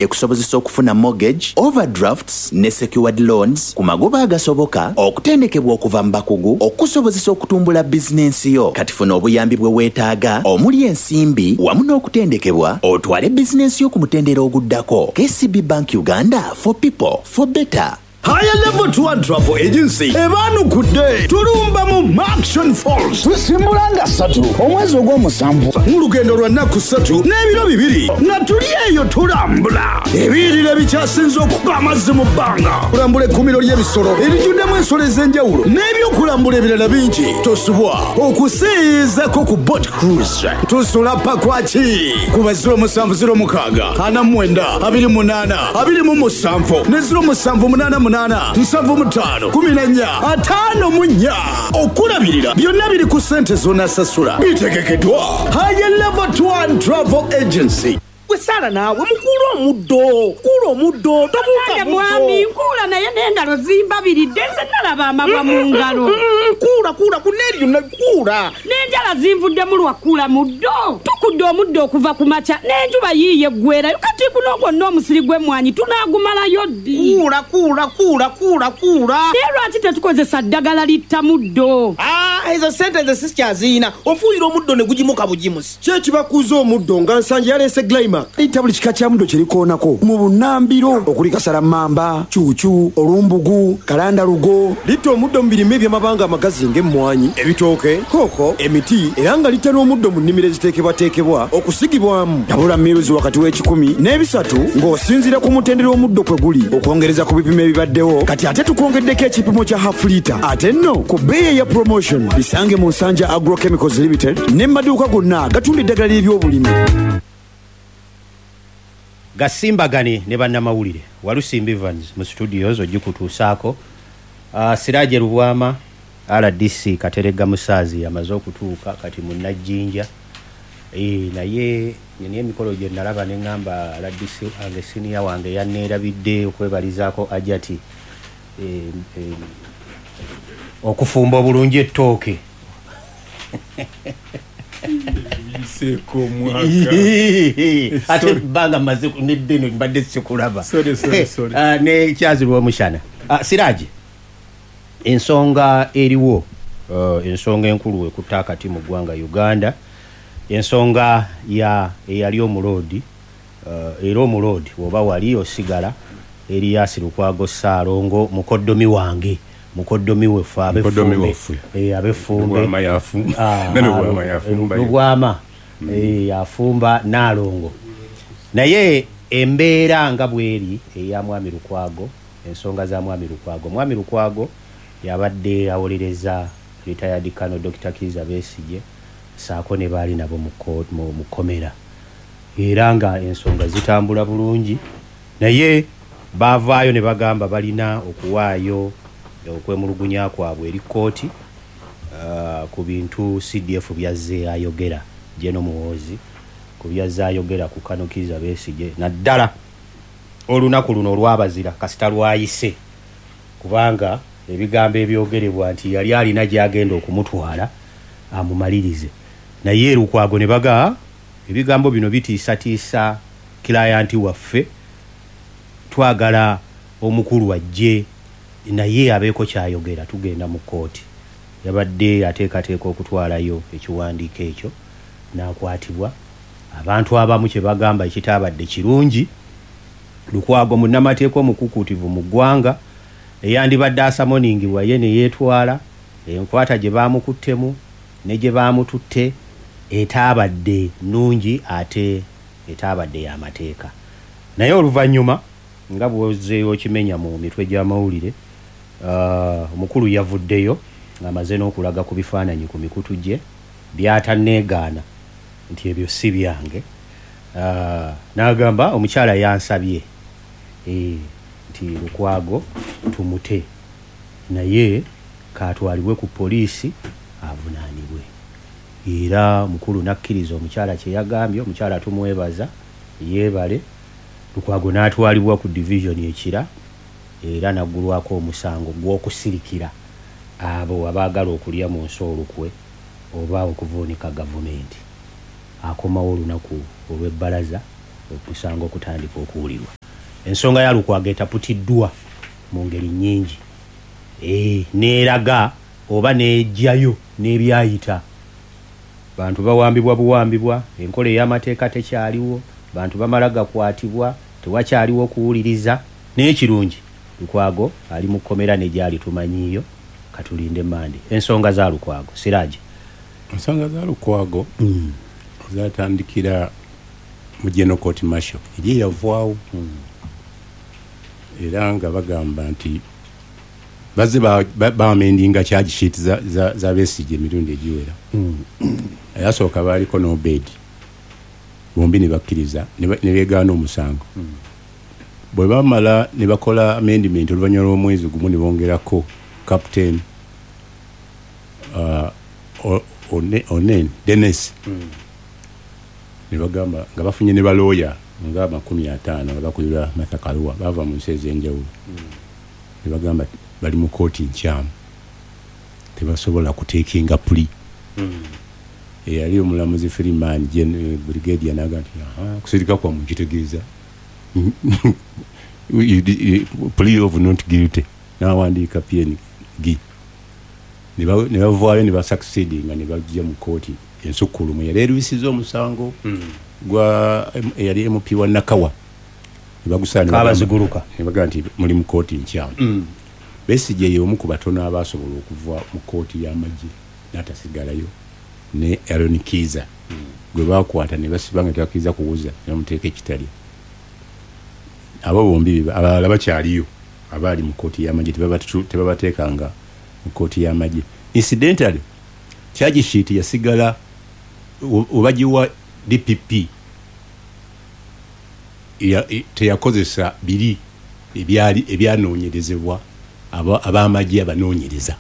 Ekusobozesa okufuna mortgage, overdrafts ne secured loans ku magoba agasoboka, okutendekebwa okuva mu bakugu okukusobozesa okutumbula bizinensi yo. Kati funa obuyambi bwe weetaaga omuli ensimbi wamu n'okutendekebwa otwale bizinensi yo ku mutendera oguddako. KCB Bank Uganda for people, for better. Higher Level Tour and Travel Agency ebaanukudde tulumba mu Murchison Falls. Tusimbula nga ssatu omwezi ogw'omusanvu. Mu lugendo lwa nnaku ssatu n'ebiro bibiri nga tuli eyo tulambula ebiyiriro ebikyasinze okuba amazzi mu bbanga, kulambula ekkuumiro ly'ebisolo erijjuddemu ensolo ez'enjawulo n'ebyokulambula ebirala bingi. Tosubwa okuseeyeeyezako ku boat cruise. Tusula Pakwaki kuba 0706 49 28 27 ne 0788 75 14 54. Okulabirira byonna biri ku ssente z'onasasula. Bitegekeddwa Higher Level Tour and Travel Agency. Gwe Sara naawe mukuule omuddo, kuula omuddo, tobuuka Kale muddo. mwami nkuula naye n'engalo zimbabiridde nze nalaba amabwa mu ngalo. Kuula, kuula, ku n'eryo na kuula. N'enjala zinvuddemu lwa kuula muddo. Tukudde omuddo okuva ku makya n'enjuba yiiyo eggweerayo kati guno gwonna omusiri gw'emmwanyi tunaagumalayo ddi? Kuula, kuula, kuula, kuula, kuula. Naye lwaki tetukozesa ddagala litta muddo? Aah, ezo ssente nze sikyazirina. Ofuuyira omuddo ne gugimuka bugimusi. Ki ekibakuuza omuddo nga Nsangi yaleese Glimac? Litta buli kika kya muddo kye likoonako mu bunnambiro okuli kasalammamba, cuucu, olumbugu, kalandalugo. Litta omuddo mu birime eby'amabanga amagazi ng'emmwanyi, ebitooke, kooko, emiti era nga litta n'omuddo mu nnimiro eziteekebwateekebwa okusigibwamu. Tabula miruzi wakati w'ekikumi n'ebisatu ng'osinziira ku mutendera omuddo kwe guli. Okwongereza ku bipimo ebibaddewo, kati ate tukwongeddeko ekipimo kya half litre ate nno ku bbeeyi eya promotion. Bisange mu Nsanja Agro Chemicals Limited ne mu maduuka gonna agatunda eddagala ly'ebyobulimi. Gasimbagane ne bannamawulire. Walusimbi Evans mu studios ogikutuusaako. Siraje Lubwama rdc Kateregga Musaazi amaze okutuuka kati munnajjinja. Naye nina emikolo gye nalaba ne ŋŋamba rdc wange siniya wange yanneerabidde okwebalizaako Hajati okufumba obulungi ettooke. Biyiseeko omwaka. Ate ebbanga mmaze nedda eno mbadde sikulaba. Sorry, sorry, sorry. Ne Kyazirwa Omushana. Siraje, ensonga eriwo, ensonga enkulu ekutte akati mu ggwanga Uganda, ensonga ya eyali omuloodi, era omuloodi bw'oba wali osigala, Erias Lukwago Ssaalongo mukoddomi wange, mukoddomi waffe Mukoddomi ab'effumbe. waffe. Ab'effumbe. Lubwama y'afumba. Ne Lubwama y'afumba. Lubwama, afumba Nnaalongo. Naye embeera nga bw'eri eya Mwami Lukwago, ensonga za Mwami Lukwago. Mwami Lukwago yabadde awolereza retired Colonel Dokita Kiiza Besigye ssaako ne baali nabo mu kkomera. Era nga ensonga zitambula bulungi, naye baavaayo ne bagamba balina okuwaayo okwemulugunya kwabwe eri kkooti ku bintu CDF by'azze ayogera, General Muhoozi ku by'azze ayogera ku Colonel Kiiza Besigye, naddala olunaku luno olw'abazira kasita lwayise, kubanga ebigambo ebyogerebwa nti yali alina gy'agenda okumutwala amumalirize. Naye Lukwago ne baga ebigambo bino bitiisatiisa kilayanti waffe, twagala omukulu ajje naye abeeko ky'ayogera, tugenda mu kkooti. Yabadde ateekateeka okutwalayo ekiwandiiko ekyo n'akwatibwa. Abantu abamu kye bagamba ekitaabadde kirungi, Lukwago munnamateeka omukukuutivu mu ggwanga eyandibadde asamoningibwa ye ne yeetwala, enkwata gye baamukuttemu ne gye baamututte etaabadde nnungi ate etaabadde ya mateeka. Naye oluvannyuma nga bw'ozze okimenya mu mitwe gy'amawulire, omukulu yavuddeyo ng'amaze n'okulaga ku bifaananyi ku mikutu gye by'atanneegaana nti ebyo si byange. N'agamba omukyala yansabye nti Lukwago tumute naye k'atwalibwe ku poliisi avunaanibwe. Era omukulu n'akkiriza omukyala kye yagambye, omukyala tumwebaza yeebale. Lukwago n'atwalibwa ku division e Kira era n'aggulwako omusango gw'okusirikira abo abaagala okulya mu nsi olukwe oba okuvuunika gavumenti. Akomawo olunaku olw'ebbalaza Omusango okutandika okuwulirwa. Ensonga ya Lukwago etaputiddwa mu ngeri nnyingi, neeraga oba neejjayo n'ebyayita. Bantu bawambibwa buwambibwa, enkola ey'amateeka tekyaliwo, bantu bamala gakwatibwa, tewakyaliwo kuwuliriza. Naye kirungi Lukwago ali mu kkomera ne gyali tumanyiiyo, katulinde Mande. Ensonga za Lukwago, Siraje. Ensonga za Lukwago zatandikira mu General Court Martial eri eyavaawo, era nga bagamba nti bazze bamendinga charge sheet za Besigye emirundi egiwera. Eyasooka baaliko n'Obed, bombi ne bakkiriza ne beegaana omusango. Bwe bamala ne bakola amendment oluvannyuma lw'omwezi gumu ne bongerako Captain Onen Dennis, ne bagamba nga bafunye ne balooya nga 50 nga bakulirwa Martha Karua, bava mu nsi ez'enjawulo. Ne bagamba bali mu kooti nkyamu, tebasobola kuteekinga plea. Eyali omulamuzi Freeman Brigadier n'agamba nti kusirika kwammwe kitegeeza plea of not guilty, n'awandiika PNG. Ne bavaayo ne basucceedinga ne bajja mu kooti ensukkulumu yali erwisiza omusango gwa eyali MP wa Nakawa, ne bagusala ne Kabaziguruka. Ne bagamba nti muli mu kooti nkyamu. Besigye ye omu ku batono abaasobola okuva mu kooti y'amagye n'atasigalayo, ne Aaron Kiiza gwe baakwata ne basiba nga tebakkiriza kuwuza, ne bamuteeka ekitalya. Abo bombi abalala bakyaliyo abaali mu kooti y'amagye, tebabateekanga mu kooti y'amagye. Incidentally, charge sheet yasigala obagiwa DPP teyakozesa biri ebyali ebyanoonyerezebwa ab'amagye abanoonyereza,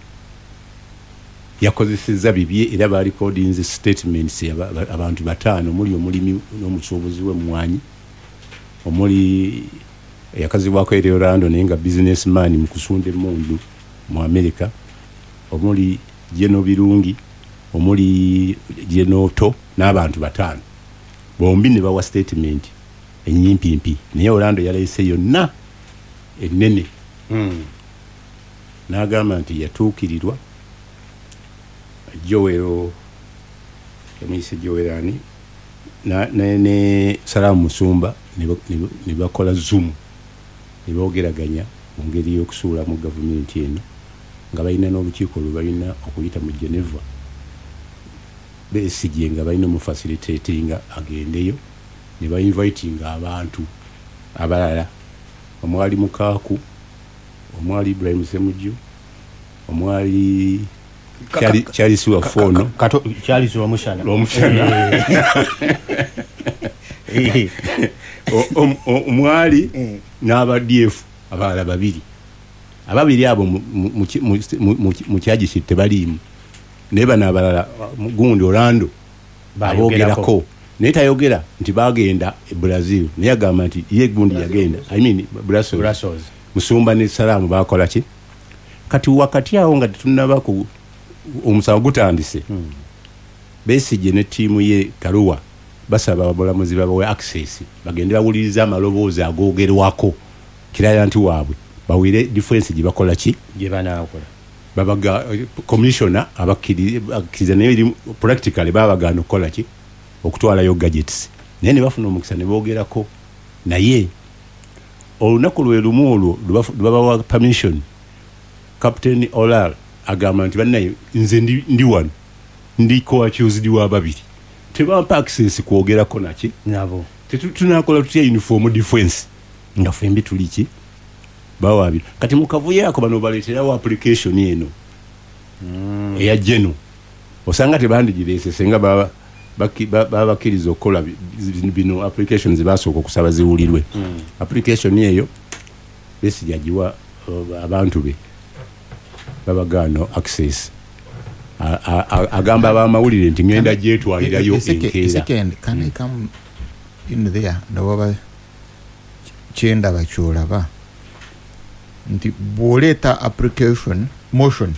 yakozesezza bibye, era barecordinze statements abantu 5 omuli omulimi n'omusuubuzi w'emmwanyi, omuli yakazibwako eri Orlando naye nga businessman mu kusunda emmundu mu America, omuli Geno Birungi, omuli Genoto n'abantu 5, bombi ne bawa statement enyimpimpi, naye Orlando yaleese yonna ennene. N'agamba nti yatuukirirwa Joel yamuyise Joel ani ne Salamu Musumba ne bakola Zoom ne boogeraganya mu ngeri y'okusuula mu gavumenti eno, nga balina n'olukiiko lwe balina okuyita mu Geneva. Besigye nga balina omufacilitatinga agendeyo, ne bainvitinga abantu abalala omwali Mukaaku, omwali Ibrahim Ssemujju, omwali Charles Wafono, Charles Rwomushana, omwali n'aba DF abalala babiri. Ababiri abo mu charge sheet tebaliimu, naye bano abalala gundi Orlando aboogerako, naye tayogera nti bagenda e Brazil, naye agamba nti ye gundi yagenda, I mean Brussels. Musumba ne Salamu bakola ki? Kati wakati awo nga tetunnaba ku omusango gutandise, Besigye ne ttiimu ye Karua basaba abalamuzi babawe access bagende bawulirize amaloboozi agoogerwako client waabwe, bawulire defense gye bakola ki gye banaakola. Babaga commissioner abakkiriza, naye eri practically babagaana okukola ki, okutwalayo gadgets, naye ne bafuna omukisa ne boogerako naye. Olunaku lwe lumu olwo lwe babawa permission, Captain Olal agamba nti bannaye nze ndi wano ndi co-accused wa babiri, tebampa access kwogerako naki nabo, tunakola tutya uniform defense nga ffembi tuli ki bawaabira. Kati mu kavuyo ako bano baleeterawo application eno eya Geno, osanga tebandigireese senga babakkiriza okukola bino applications basooka okusaba ziwulirwe. Application eyo Besigye agiwa abantu be, babagaana access. Agamba abamawulire nti ngenda gyetwalirayo enkeera. Second, can I come in there? Ndowooza kyendaba kyolaba nti bw'oleeta application motion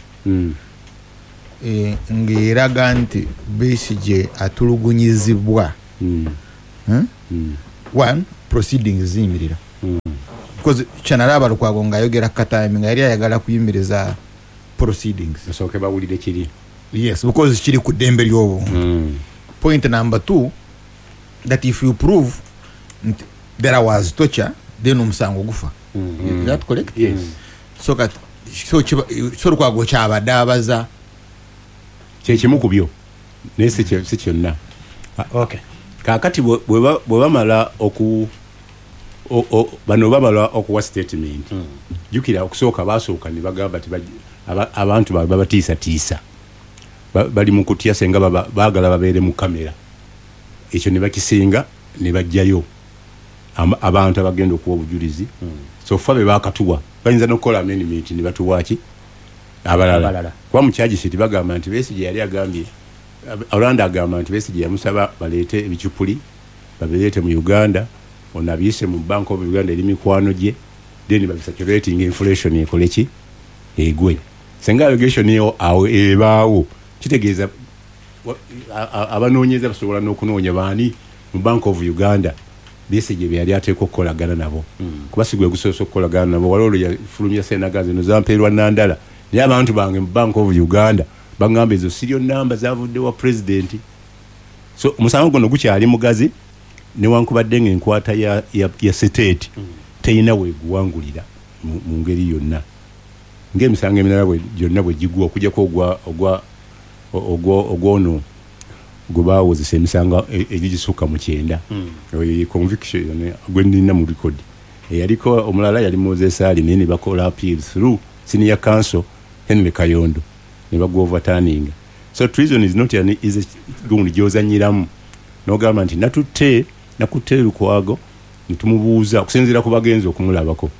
ng'eraga nti Besigye atulugunyizibwa, One, proceedings ziyimirira, because kyanalaba Lukwago ng'ayogera katambi nga yali ayagala kuyimiriza proceedings. Basooke bawulire kiri. Yes, because kiri ku ddembe ly'obuntu. Point number two, that if you prove nti there was torture, then omusango gufa. Is that correct? Yes. So kati so Lukwago kyabadde abaza kyekimu ku byo, naye si kyonna. Okay. Kaakati bwe bamala oku bano bamala okuwa statement, jjukira okusooka basooka ne bagamba nti abantu baabwe babatiisatiisa, bali mu kutya, senga baagala babeere mu kamera. Ekyo ne bakisinga ne bajjayo abantu abagenda okuwa obujulizi. So ffa be baakatuwa bayinza n'okukola amendment ne batuwa ki abalala, kuba mu charge sheet bagamba nti Besigye yali agambye, Orlando agamba nti Besigye yamusaba baleete ebicupuli babireete mu Uganda, ono abiyise mu Bank of Uganda eri mikwano gye, then babisaturating inflation ekole ki egwe. Senga allegation eyo awo ebaawo, kitegeeza abanoonyeza basobola n'okunoonya baani mu Bank of Uganda Besigye bye yali ateekwa okukolagana nabo, kuba si gwe gusoose okukolagana nabo. Waliwo olwo yafulumya Ssenaga zino zampeerwa Nandala, naye abantu bange mu Bank of Uganda baŋŋamba ezo siryo namba zavudde wa pulezidenti. So omusango guno gukyali mugazi, newankubadde ng'enkwata ya state teyina weeguwangulira mu ngeri yonna ng'emisango emirala gyonna bwe gigwa, okuggyako ogwono gwe baawozesa emisango egigisukka mu 90, oyo conviction gwe nnina mu record. Eyaliko omulala yali Moses Ali, naye ne bakola appeal through senior counsel Henry Kayondo ne bagwa overturning. So treason is not an easy gundi gy'ozannyiramu n'ogamba nti nakutte Lukwago ne tumubuuza okusinziira ku bagenzi okumulabako,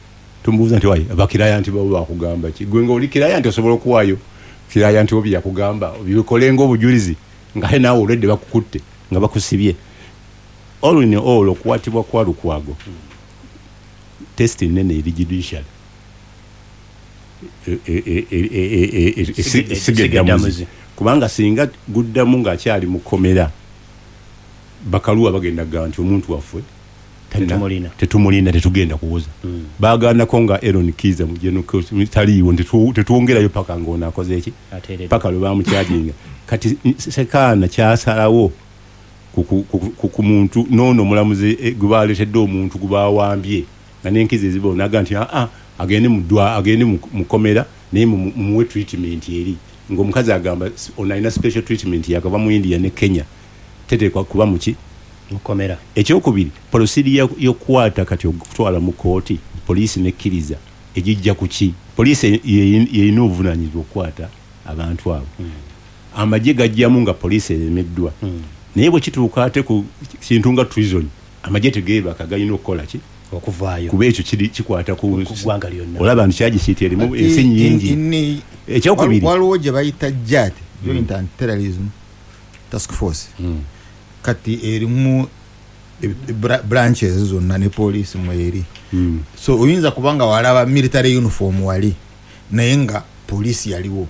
tumubuuza nti wayi abakiraya nti babo bakugamba ki, gwe ng'oli kiraya nti osobola okuwaayo kiraya nti obi yakugamba bikole ng'obujulizi, nga ate naawe olwedde bakukutte nga bakusibye. All in all, okukwatibwa kwa Lukwago test nene eri judicial esiga eddamuzi, kubanga singa guddamu ng'akyali mu kkomera, bakaluwa bagenda kugamba nti omuntu waffe tetumulina, tetugenda kuwoza. Baagaanako nga Aaron Kiiza taliiwo, tetwongerayo paka ng'ono akoze eki, paka lwe bamukyajinga. Kati Sekaana kyasalawo ku muntu n'ono omulamuzi gwe baleetedde omuntu gwe bawambye nga n'enkizo eziba naga nti agende agende mu kkomera, naye mumuwe treatment eri ng'omukazi agamba ono alina special treatment yakava mu India ne Kenya, teteekwa kuba muki mukomera. Ekyokubiri, procedure y'okukwata kati okutwala mu kooti, poliisi nekkiriza egijja ku ki, poliisi yerina obuvunaanyizibwa okukwata abantu abo. Amagye gajjamu nga poliisi eremeddwa, naye bwe kituuka ate ku kintu nga treason, amagye tegeebaka, galina okukola ki okuvaayo, kuba ekyo kiri kikwata ku ggwanga lyonna. Olaba nti charge sheet erimu ensi nnyingi. Ekyokubiri, waliwo gye bayita JAT, Joint Anti-Terrorism Task Force. Kati erimu branches zonna ne poliisi mweri. So oyinza kubanga walaba military uniform wali, naye nga poliisi yaliwo.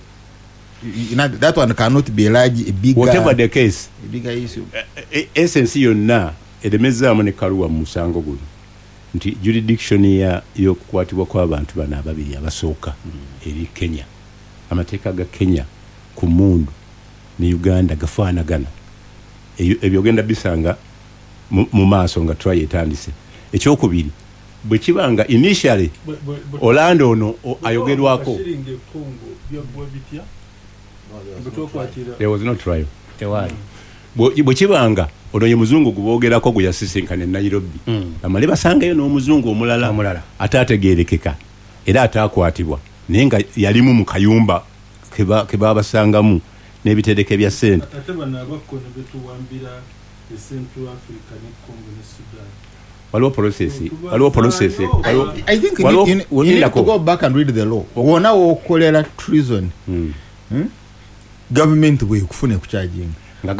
That one cannot be large, a bigger, whatever the case, a bigger issue. Essence yonna eremezaamu ne Kaluwa mu musango guno nti jurisdiction y'okukwatibwa kw'abantu bano ababiri abasooka eri Kenya. Amateeka ga Kenya ku mmundu ne Uganda gafaanagana. Ebyo ogenda bisanga mu maaso nga trial etandise. Ekyokubiri, bwe kiba nga initially Orlando ono ayogerwako, there was no trial. Tewali. Bwe kibanga ono ye muzungu gwe boogerako gwe yasisinkana e Nairobi, bamale basangayo n'omuzungu omulala ate ategeerekeka era ataakwatibwa, naye nga yalimu mu kayumba ke baabasangamu n'ebitereke bya ssente. Ate bano abakko ne betuwambira e Central Africa ne Congo ne Sudan. Waliwo process, waliwo process. I think you need to go back and read the law. Wona wokolera treason, government bwekufune kucharging. Nga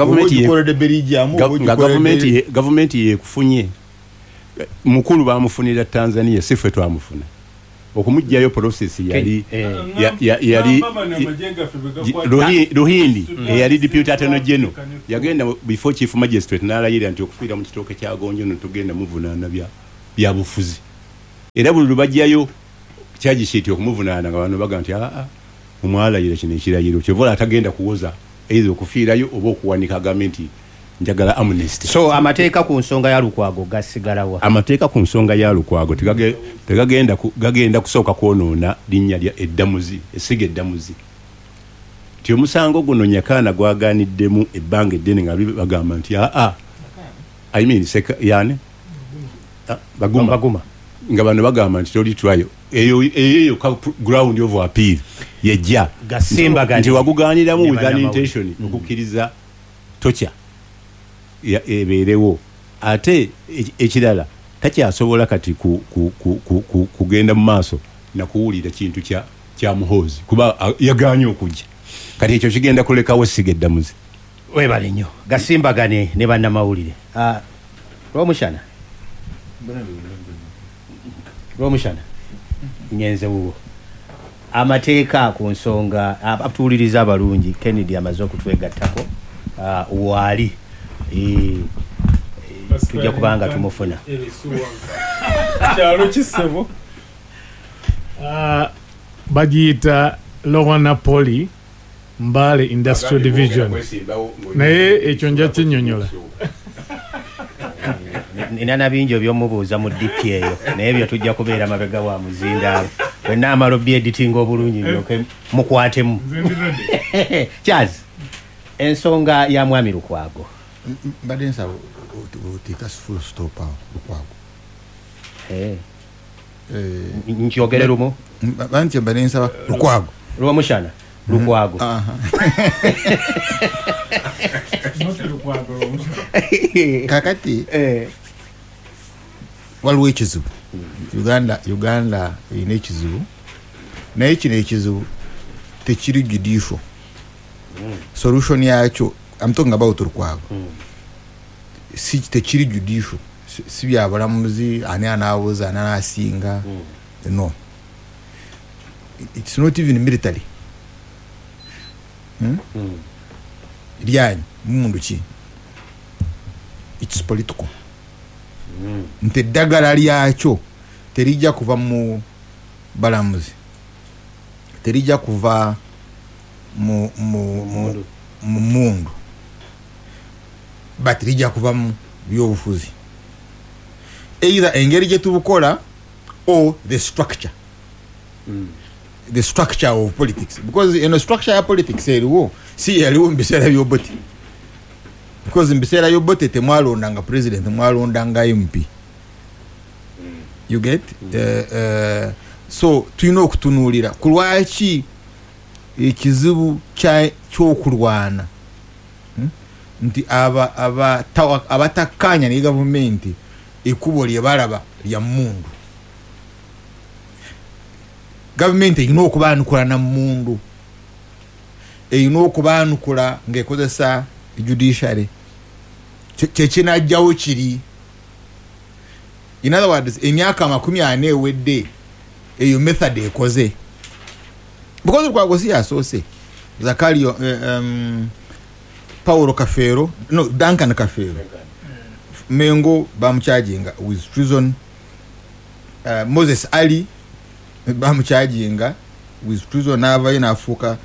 government yekufunye. Mukulu bamufunira Tanzania, si ffe twamufuna. Okumugjayo process yali yali Ruhindi eyali deputy attorney general yagenda before chief magistrate n'alayira nti okufiira mu kitooke kya gonjo no tugenda muvunaana bya bufuzi. Era buli lubajjayo charge sheet okumuvunaana nga bano baga nti omwalayira kino ekirayiro kyovola atagenda kuwoza either okufiirayo oba okuwanika agambe nti njagala amnesty. So amateeka ku nsonga ya Lukwago gasigalawa? Amateeka ku nsonga ya Lukwago tegagenda gagenda kusooka kwonoona linnya lya eddamuzi, essiga eddamuzi. Nti omusango guno Nyakaana gwagaaniddemu ebbanga eddene nga bagamba nti I mean yani Baguma nga bano bagamba nti toli trial eyo ground of appeal yejja nti wagugaaniramu with an intention okukkiriza tokya ebeerewo. Ate ekirala takyasobola kati kugenda mu maaso nakuwulira kintu kya Muhoozi kuba yagaanye okujja. Kati ekyo kigenda kulekawo essiga eddamuzi. Webale nnyo gasimbagane ne bannamawulire. Lwomushana nyenze wuwo amateeka ku nsonga atuwuliriza abalungi. Kennedy amaze okutwegattako waali tujja kubanga tumufuna. Kyalo kisebo bagiyita Lower Napoli Mbale Industrial Division, naye ekyo nja kinnyonnyola. Nina bingi ebyomubuuza mu DP eyo, naye ebyo tujja kubeera mabega wa muzindaalo wenna amala obyeditinga obulungi ndyoke mukwatemu. Charles, ensonga ya Mwami Lukwago mbadde nsaba oteeka full stop awo Lukwago. Nkyogere lumu banti mbadde nsaba Lukwago Lwomushana Lukwago. Kakati waliwo ekizibu Uganda erina ekizibu, naye kino ekizibu tekiri judicial solution yakyo. I'm talking about Lukwago. Si tekiri judicial, si byabalamuzi ani anaawoza ani anaasinga. No, it's not even military. Lyanyi mumundu ki, it's political. Nti eddagala lyakyo terijja kuva mu balamuzi, terijja kuva mu mundu, but lijja kuva mu byobufuzi, either engeri gye tubukola or the structure. The structure of politics, because eno structure ya politics eriwo si yaliwo mu biseera by'Obote, because mu biseera by'Obote temwalondanga president, mwalondanga MP. You get? So tulina okutunuulira ku lwaki ekizibu ky'okulwana nti abatakkaanya ne gavumenti ekkubo lye balaba lya mmundu. Gavumenti erina okubaanukula na mmundu, erina okubaanukula ng'ekozesa judiciary. Kyekinajjawo kiri, in other words, emyaka 40 ewedde eyo method ekoze, because Lukwago si yasoose. Zakario Paulo Kafeero, no, Duncan Kafeero Mengo bamucharginga with treason. Moses Ali bamucharginga with treason, n'avayo n'afuuka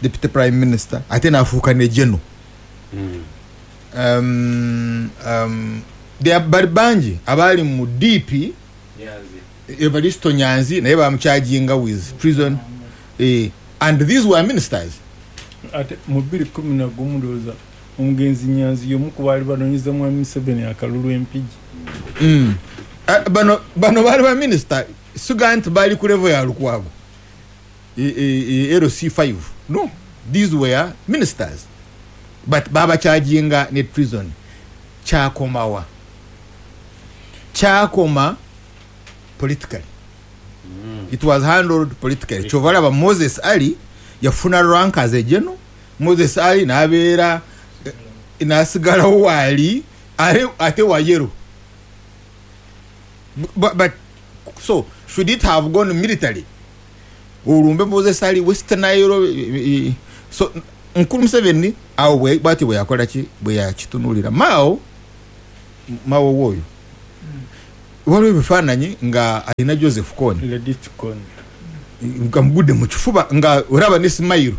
deputy prime minister, ate n'afuuka ne general. Bali bangi abaali mu DP, Evaristo Nyanzi naye bamucharginga with treason, and these were ministers. Ate mu 2011 ndowooza omugenzi Nyanzi y'omu ku baali banoonyeza Mwami Museveni akalulu Empigi. Bano baali ba minisita, siga nti baali ku level ya Lukwago LC5. No, these were ministers, but babacharginga ne treason. Kyakomawa? Kyakoma politically. It was handled politically. Kyova olaba Moses Ali yafuna rank as a general. Moses Ali n'abeera n'asigalawo waali ate wayero, but So should it have gone military? Olumbe Moses Ali West Nile. So Nkulu Museveni awo bwati bwe yakola ki, bwe yakitunulira Mao woyo waliwo ebifaananyi nga alina Joseph Kony nga mugudde mu kifuba nga olaba ne smile.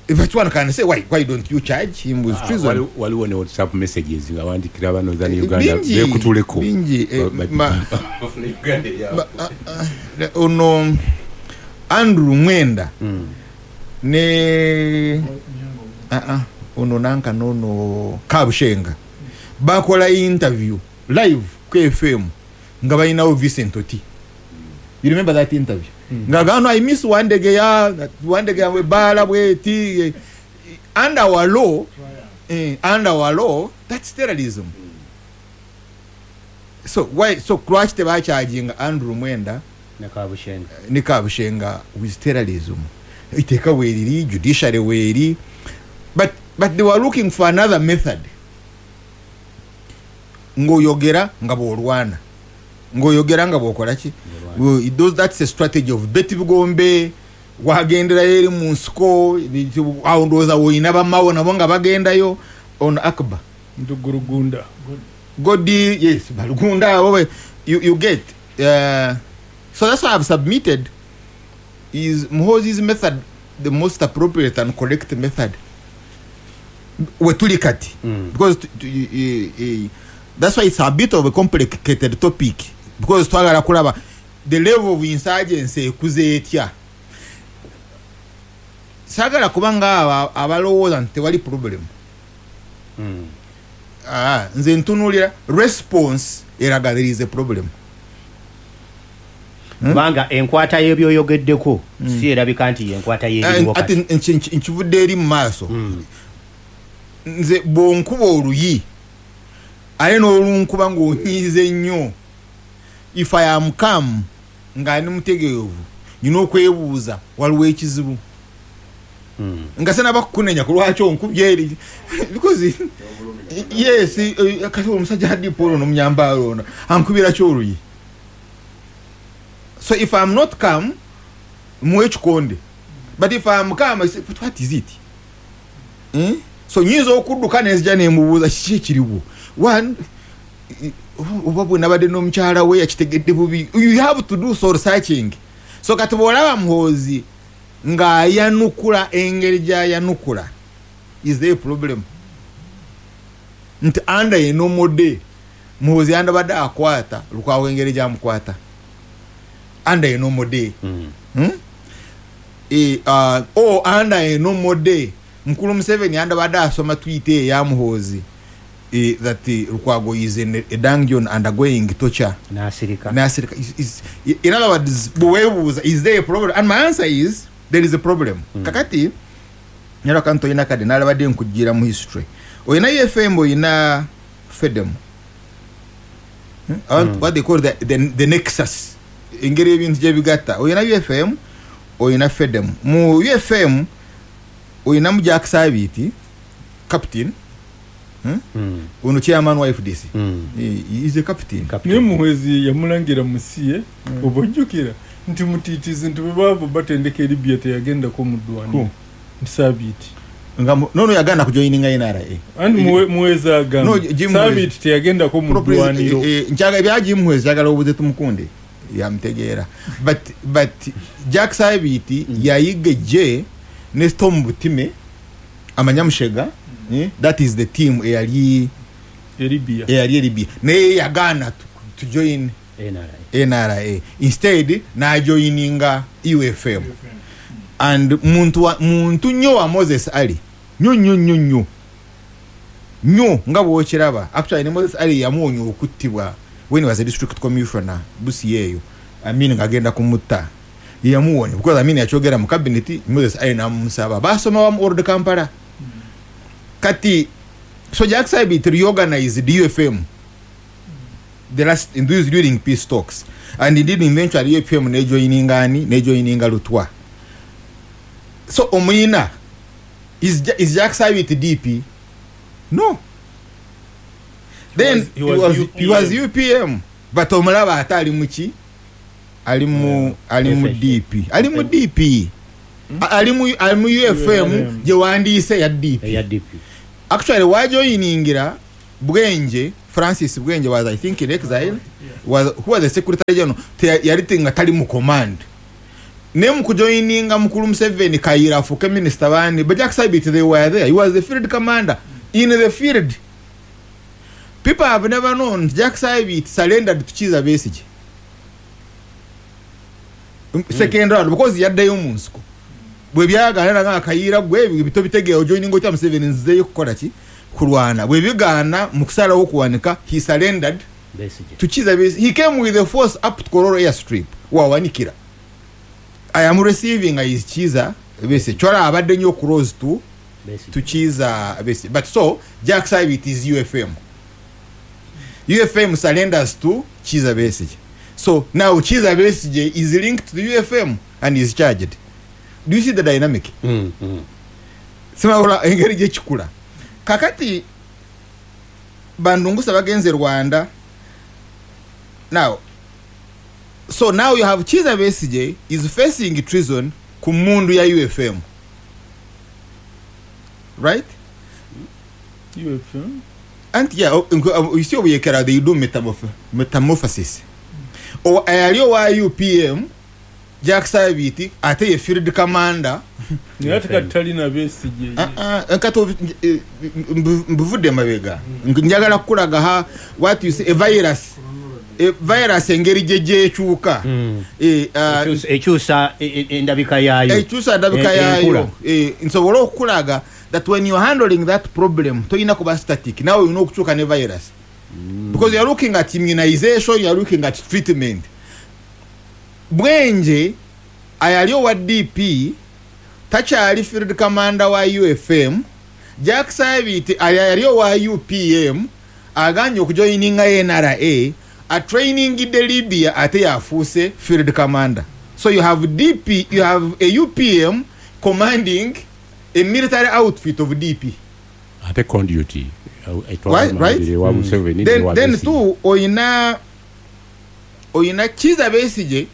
If one can say why don't you charge him with treason? Waliwo ne WhatsApp messages nga wandikira bano za Uganda bekutuleko bingi. Ono Andrew Mwenda ne ono nanka nono Kabushenga bakola interview live ku FM nga balinawo Vincent Oti. You remember that interview? Nga gano I miss Wandegeya we bala bweti. Under our law, that's terrorism. So why so lwaki tebacharging Andrew Mwenda ne Kabushenga with terrorism? Iteeka weeriri, judiciary weeri, but they were looking for another method. Ngoyogera nga bw'olwana, ngoyogera nga bw'okola ki. That's a strategy of Betty Bugombe wagenderayo eri mu nsiko awo ndowooza woyina bamawo nabo nga bagendayo on Akbar Ndugurugunda Godi, yes, Balugunda, you get. So that's why I've submitted is Muhoozi's method the most appropriate and correct method wetuli kati, because that's why it's a bit of a complicated topic, because twagala kulaba the level of insurgency ekuze etya. Sagala kubanga abalowooza nti tewali problem. Nze ntunuulira response eraga there is a problem. Kubanga enkwata y'ebyoyogeddeko si erabika nti yenkwata y'ebiriwo kati. Ate nkivudde eri mu maaso. Nze bw'onkuba oluyi ate n'olunkuba ng'onyiize nnyo, if I am calm nga ndi mutegeevu nina okwebuuza waliwo ekizibu. Nga sinaba kukunenya ku lwaki onkubye eri, because yes, kati omusajja hadipo ono omunyambaalo ono ankubira ki oluyi. So if I'm not calm, muwe ekikonde, but if I'm calm, I say, but what is it? So nyinza okudduka nenzija nemubuuza kiki ekiriwo. One, oba bwe nabadde n'omukyala we yakitegedde bubi. You have to do soul searching. So kati bw'olaba Muhoozi ng'ayanukula engeri gy'ayanukula, is there a problem? Nti under a normal day, Muhoozi yandabadde akwata Lukwago engeri gy'amukwata under a normal day. Or under a normal day, Mukulu Museveni yandabadde asoma tweet eya Muhoozi that Lukwago is in a dungeon undergoing torture. Nasirika. In other words, is there a problem? And my answer is there is a problem. Kakati nyalo kanto ina kade nalabadde nkujira mu history. Oyina UFM oyina FEDEM. What they call the nexus. Engeri ebintu gye bigatta. Oyina UFM oyina FEDEM. Mu UFM oyina mu Jack Sabiti captain. Ono chairman wa FDC. He is a captain. Ne Muhoozi yamulangira musiye obojjukira nti mutitizi nti bwe batendeka Libya teyagendako mu ddwaniro. Nti Sabiti nga nono yagana kujoininga NRA. And Muhoozi agamba Sabiti teyagendako mu ddwaniro. Nchaga ebya Jim Muhoozi yagala obuze tumukunde yamutegeera. But Jack Sabiti yayiga je ne Tom Butime amanyamushega. That is the team eyali Libya. Naye yagana to join NRA. Instead na joininga UFM. And muntu nnyo wa Moses Ali. Nnyo nnyo nga bw'okiraba. Actually Moses Ali yamuwonya okuttibwa when he was a district commissioner Busia eyo. Amin ng'agenda kumutta. Yamuwonya because Amin yakyogera mu cabinet, Moses Ali n'amusaba. Basoma wamu Old Kampala. Kati, so Jack Sabiti reorganized the UFM the last in those during peace talks, and indeed eventually UFM ne joininga Lutwa. So Omina is Jack Sabiti DP? No. Then he was UPM. But omulaba ate ali muki, ali mu DP, ali mu DP, ali mu UFM gye wandiise ya DP. Actually wajoyiningira Bwenje, Francis Bwenje was, I think, in exile, was who was the secretary general, yali nga tali mu command. Ne mu kujoininga mukulu Museveni Kayira afuke minister bani, but Jack Sabit, they were there. He was the field commander in the field. People have never known Jack Sabit surrendered to Kizza Besigye. Second round because yaddayo mu nsiko. Bwe byagaana nga Kayira gwe bito bitegeo ojoininga otya Museveni nzizeyo kukola ki? Kulwana. Bwe bigaana mu kusalawo okuwanika, he surrendered Besigye to Kizza Besigye. He came with the force up to Kololo airstrip. Wawanikira. I am receiving is Kizza Besigye. Chora abadde nnyo close to Kizza Besigye. But so Jack Sabit is UFM. UFM surrenders to Kizza Besigye. So now Kizza Besigye is linked to the UFM and is charged. Do you see the dynamic? Sima engeri gye kikula. Kakati bandungusa bagenze Rwanda. Now, so now you have Kizza Besigye is facing treason ku mundu ya UFM. Right? UFM? And yeah, you see obuyekera they do metamorphosis. O ayali wa UPM Jack Sabiti ate ye field commander. Naye ate kati talina Besigye. Kati mbuvudde mabega. Njagala kukulaga ha what you say a virus. A virus engeri gye ekyuka. Ekyusa endabika yaayo. Ekyusa endabika yaayo. Nsobola okukulaga that when you're handling that problem toyina kuba static. Now you know okukyuka ne virus. Because you're looking at immunization, you're looking at treatment. Bwenje ayali owa DP takyali field commander wa UFM. Jack Sabiti ayali owa UPM aganye okujoininga NRA a training de Libya ate yafuuse field commander. So you have DP, you have a UPM commanding a military outfit of DP. Ate conduit. Right? Then two oyina Kizza Besigye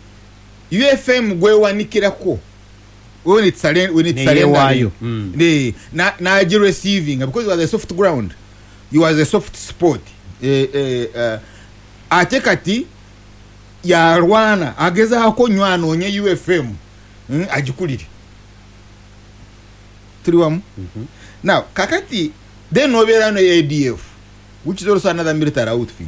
UFM gwewanikirako when it's surrender na receiving because it was a soft ground, it was a soft spot. Ate kati yarwana agezaako nnyo anoonye UFM agikulire. Tuli wamu? Now kakati then obeera no ADF which is also another military outfit.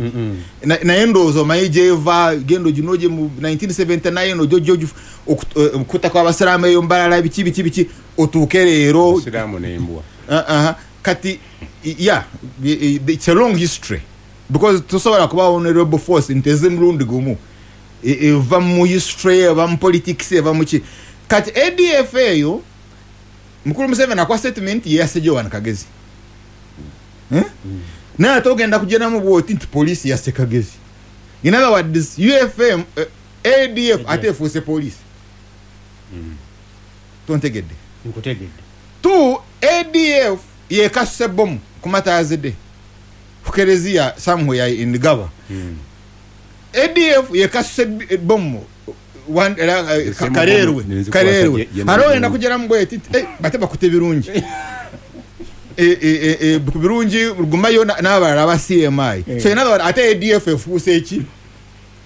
Naye ndowooza omanyi gyeva gendo ginoje mu 1979 ojojo okuta kw'abasiraamu eyo mbalala biki biki biki otuuke leero Abasiraamu n'embwa. Kati yeah, it's a long history because tosobola kuba honorable force nti eze mulundi gumu eva mu history, eva mu politics, eva mu ki. Kati ADF eyo Mukulu Museveni akwa statement yeyase Joan Kagezi. Naye ate ogenda kugenda bw'oti nti poliisi yasse Kagezi. In other words, UFM ADF ate efuuse poliisi. Tontegedde? Nkutegedde. Two, ADF yekasuse bomu ku Matazidde ku Kereziya somewhere in Gaba. ADF yekasuse bomu Karerwe. Hariho ogenda kugeramu bweti bate bakute birungi. Birungi rugumayo n'abalala aba CMI. So in other words, ate ADF efuuse eki?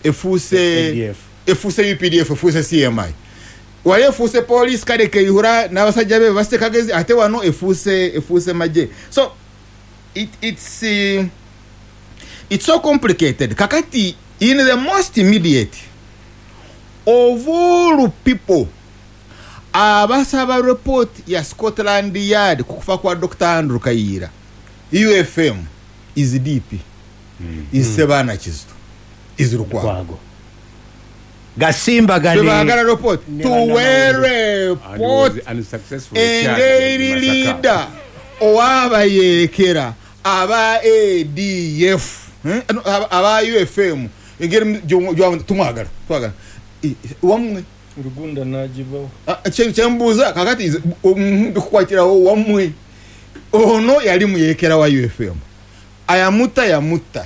Efuuse UPDF, efuuse CMI. Wali efuuse police kale Kayihura n'abasajja be basse Kagezi ate wano efuuse magye. So it's so complicated. Kakati in the most immediate of all people abasaba report ya Scotland Yard kukufa kwa Dr. Andrew Kayira, UFM is DP, is Sebana Kizito, is Lukwago. Gasimba gane tebagala report tuwere report engeri leader owabayekera aba ADF aba UFM engeri tumwagala twagala wamwe Rugunda najibawo kyembuuza kakati ndikukwatirawo wamwe ono yali muyekera wa UFM ayamuta yamuta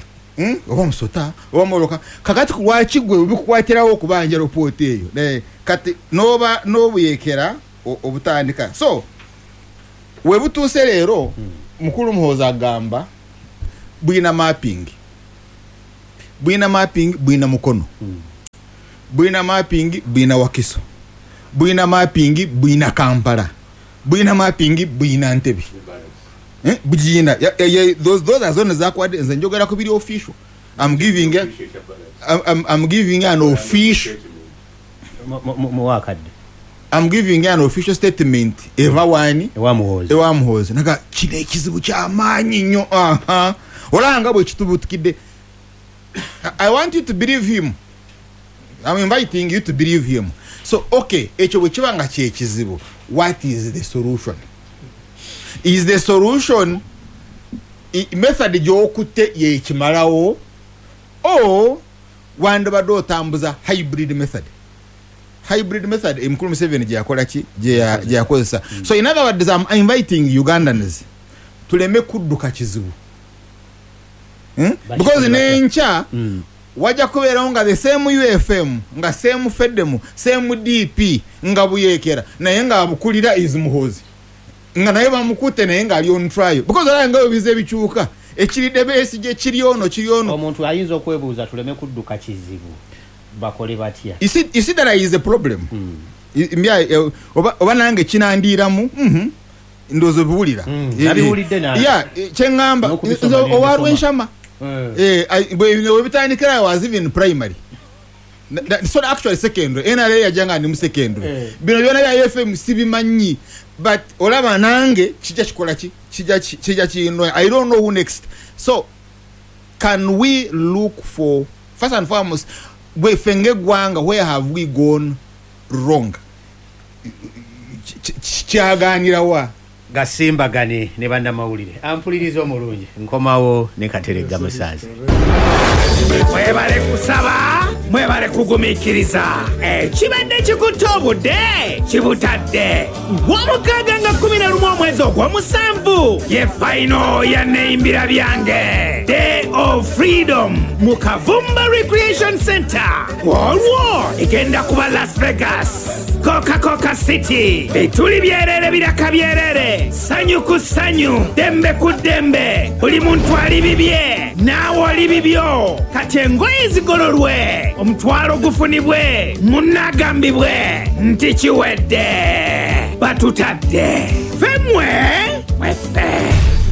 Oba musota oba moloka. Kakati lwaki gwe bikukwatirawo okubanja report eyo? Naye kati noba n'obuyekera obutandika. So webutuuse leero, mukulu Muhoozi agamba bwina mapping, bwina mapping, bwina Mukono, bwina mapping, bwina Wakiso, bwina mapping, bwina Kampala, bwina mapping, bwina Ntebe. Bugina. Yeah, those are zone zakwadde. Nze njogera ku biri official. I'm giving an official Muwakadde. I'm giving an official statement eva wani? Ewa Muhoozi. Ewa Muhoozi. Naga kino ekizibu kyamaanyi nnyo. Aha, olanga bwe kitubutukidde. I want you to believe him. I'm inviting you to believe him. So okay, ekyo bwe kiba nga kyekizibu, what is the solution? Is the solution method gy'okutte yekimalawo, o wandibadde otambuza hybrid method? Hybrid method emukulu Museveni gye yakola ki, gye yakozesa. So in other words, I'm inviting Ugandans tuleme kudduka kizibu. Because n'enkya wajja kubeerawo nga the same UFM, nga same Fedemu, same DP, nga buyekera naye nga abukulira is Muhoozi, nga naye bamukutte naye ng'ali on trial, because olaba nga bize bikyuka, ekiridde Besigye kiri ono, kiri ono. Omuntu ayinza okwebuuza, tuleme kudduka kizibu, bakole batya? You see that is a problem. Oba nange kinandiiramu, ndowooza obiwulira. Nabiwulidde nange. Yeah, kyeŋŋamba N'okubisoma nze ne owa mbisoma. Rwenshama. Bwe bitandikira I was even primary. So actually secondary, NRA yajja nga ndi mu secondary. Bino byona bya FM sibimanyi, but olaba nange kijja kikola ki, kijja kino. I don't know who next. So can we look for, first and foremost, bweffe ng'eggwanga, where have we gone wrong? Kyaganirawa? Gasimbagane ne bannamawulire. Ampuliriza omulungi, nkomawo ne Kateregga Musaazi. Mwebale kusaba, mwebale kugumiikiriza. Ekibadde kikutte obudde kibutadde. 6 nga 11 omwezi ogw'omusanvu ye final ya Neyimbira Byange Day of Freedom mu Kavumba Recreation Center. Olwo egenda kuba Las Vegas, Coca-Cola City, bituli byerere, biraka byerere, sanyu ku sanyu, dembe ku dembe. Buli muntu ali bibye, naawe oli bibyo. Kati engoye zigololwe, omutwalo gufunibwe, munnagambibwe nti kiwedde, batutadde femwe mweffe.